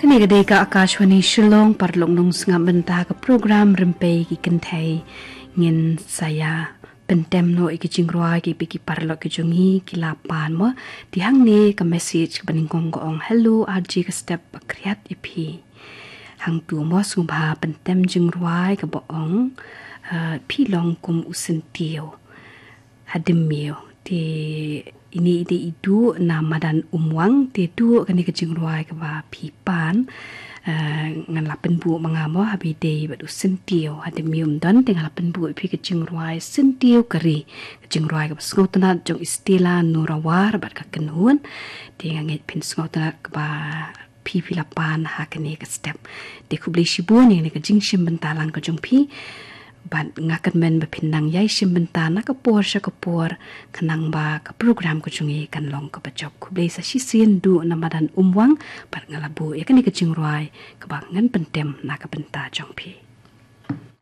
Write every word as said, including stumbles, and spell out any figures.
Kane ka dei ka Akashvani Shillong, paralok nong sngap bynta ka program Rympei ki Kynthei. Ngin sa ïa pyntem noh ïa ki jingrwai kiba ki paralok ki jong ngi ki la pan mo. Te hangne ka message kaba nyngkong ka ong, "Hello R J, ka step ba khriat ïa phi." Hangtu mo sngewbha pyntem jingrwai kaba ong, eh, "Phi long kum u syntiew hadien miaw." Te ine i dei i Duh na madan Umwang, te Duh, kane ka jingrwai kaba phi pan, eh, ngan la pynbuh ma nga mo, haba i dei bad u syntiew hadien miaw ym don, te nga la pynbuh ïa phi ka jingrwai Syntiew ka Ri, ka jingrwai kaba sngewtynnat jong i Stella Nurawar bad ka kynhun. Te nga ngeit phin sngewtynnat kaba phi phi la pan ha kane ka step. Te khublei shibun ïa kane ka jingshim bynta lang ka jong phi. Bad nga kyrmen ba phin nang ïai shim bynta na ka por sha ka por, khnang ba ka program ka jong ngi kan long kaba jop. Khublei sa shisien Duh na madan Umwang, bad nga la buh ïa kane ka jingrwai kaba ngan pyntem na ka bynta jong phi.